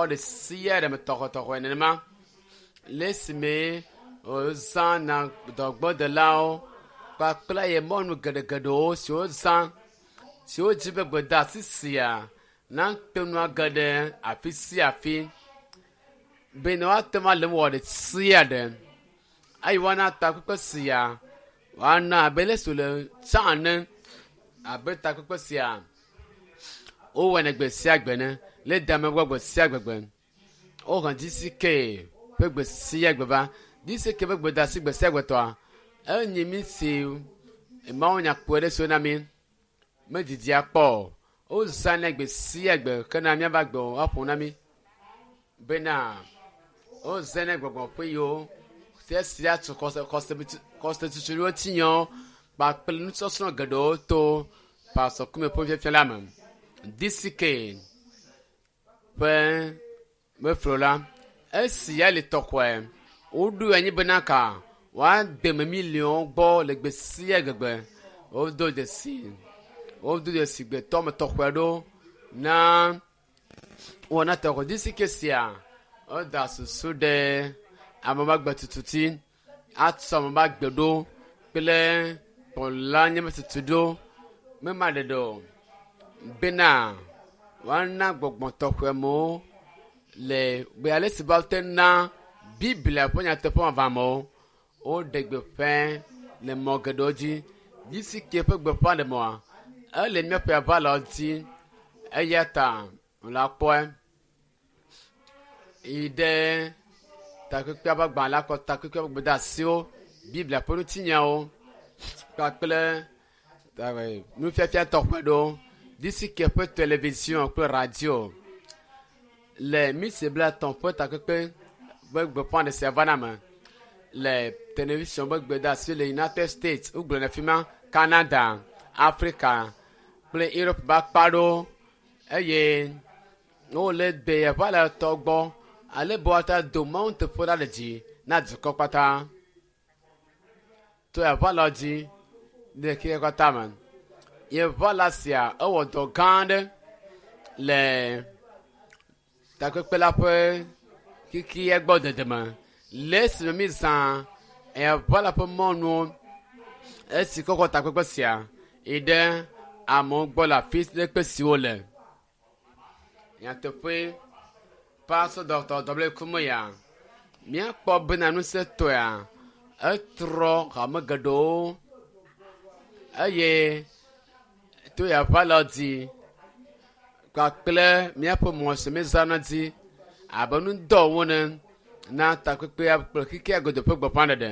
ɖe sia ɖe me tɔxɔtɔxɔe nenema le esime wozãna dɔgbɔdelawo kpakple ye mɔnu geɖegeɖewo siwo zã siwo dzi be gbedeasi sia nate ŋu age ɖe afi sia afi bene woate ŋu ale wɔ ɖe sia ɖe eye woana takpekpe sia woana abe le si wòle tsã ene abe takpekpe sia wowɔnɛ gbe sia gbe ne le dame gbɔ gbe sia gbegbe wohe GCK ƒe gbe sia gbe va GCK ƒe gbedeasi gbe sia gbe tɔa enye mi si mawunya kpɔe ɖe si wona mi medidia kpɔ o wozãnɛ gbe sia gbe kena míava gbe woaƒo na mi bena wozãnɛ gbɔgbɔ ƒe yiwo sia sia tu xɔse xɔse xɔse tutuɖo ŋutinyawo kpakple nusɔsrɔ̃ geɖewo to pasɔkume ƒe fiafia la me DCK ƒe meflo la esi ya le tɔxɔe woɖo anyi bena ka woade me miliɔnwo gbɔ le gbe sia gbegbe wodo dzesi wodo dzesi gbetɔ me tɔxɔe ɖo na wɔna tɔxɔ DCK sia woda susu ɖe ame ƒe agbe tutu atsɔ ame ƒe agbe ɖo kple kplɔla nye me tutu ɖo mema ɖeɖe o bena woana gbɔgbɔ tɔxɔe mewo le gbe ale si woate na biblia ƒe nyateƒe vavamewo woɖe gbeƒã le mɔ geɖewo dzi GCK ƒe gbeƒã ɖe mɔa ele míaƒe aʋalawo dzi eya ta wòle akpɔe yi ɖe takpekpea ƒe agbalẽ la kɔ takpekpea ƒe gbedeasiwo biblia ƒe ŋutinyawo kpakple nufiafia tɔxɛ ɖewo GCK ƒe television kple radio le misi 30 ƒe takpekpe ƒe gbeƒã ɖe sia va na me le television ƒe gbedeasi le United States wogblɔ le fi ma Canada Africa kple Europe ƒe akpa ɖewo eye wole gbe yeƒe le tɔ gbɔ ale be woate do mawu teƒe la le dzi na dukɔ kpata to yeƒe dzi le xexea katã me yeƒe la sia ewɔ dɔ gã aɖe le takpekpe la ƒe xexea gbɔ dede me le esime mi zã yeƒe la ƒe mɔnuwo esi kɔkɔ takpekpe sia yi ɖe amewo gbɔ le afi ɖekpe si wole nyateƒe pastor dr w kumeya míakpɔ bena ŋusẽtɔea etrɔ hame geɖewo eye to yeƒe alɔ dzi kpakple míaƒe mɔ si míezãna dzi abe nudɔwo ne na takpekpea kple xexea godo ƒe gbeƒãɖeɖe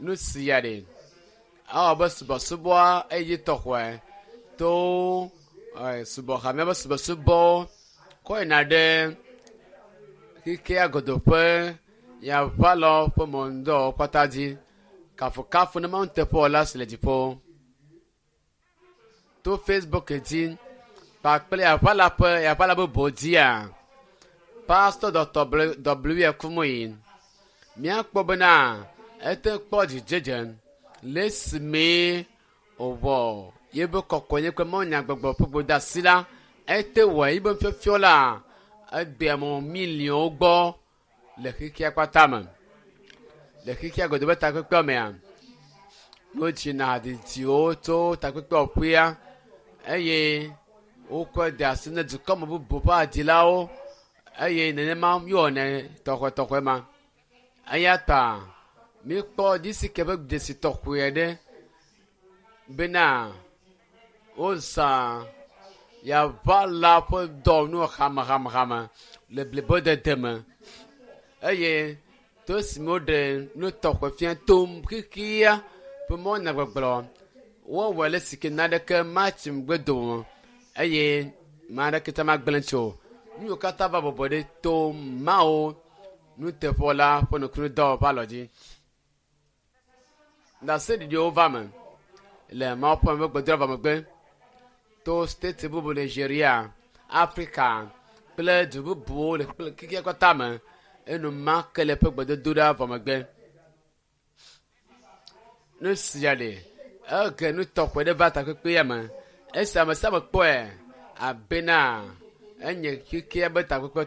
nu sia ɖe awɔ be subɔsubɔa eye tɔxɔe to subɔhamea ƒe subɔsubɔ kɔ yina ɖe xexea godo ƒe yaʋalɔ ƒe mɔnudɔwɔwɔ kpata dzi kafukafu ne mawu teƒewɔla si le dziƒo to Facebook dzi kpakple yaʋala ƒe yaʋala bubu dzia pastor dr w kumuyi míakpɔ bena ete kpɔ dzidzedze le esime wòwɔ yebe kɔkɔenye kple mawunyagbɔgblɔ ƒe gbedeasi la ete wɔ yibe nufiɔfiɔ la egbe amewo miliɔnwo gbɔ le xexea kpata me le xexea godo be takpekpea mea wodzina didiwo tso takpekpeaƒea eye wokɔe de asi ne dukɔme bubu ƒe adilawo eye nenema míwɔnɛ tɔxɔtɔxɔe ma eya ta míkpɔ GCK ƒe dzesi tɔxɔe ɖe bena wozã yaʋala ƒe dɔwɔnu hamehamehame le blibodede me eye to esime woɖe nu tɔxɛ fia tom xexea ƒe mɔnyagbɔgblɔ wowɔe le si ke naneke matsi ŋgbe dome eye ame aɖeke tse magblẽ tsi o. Nu yiwo katã va bɔbɔ ɖe to mawo nuteƒewɔla ƒe nukudɔwɔƒe ƒe alɔ dzi. Ɖaseɖiɖiwo va me le Mawu ƒe ame gbedoɖa vɔ megbe to state bubu Nigeria, Afrika kple du bubuwo le kple xexea katã me enumake le eƒe gbedodoɖa vɔ megbe. Nu sia ɖe ege nu tɔxɛ ɖe va takpekpea me esi ame sia ame kpɔe abena enye xexea be takpekpe.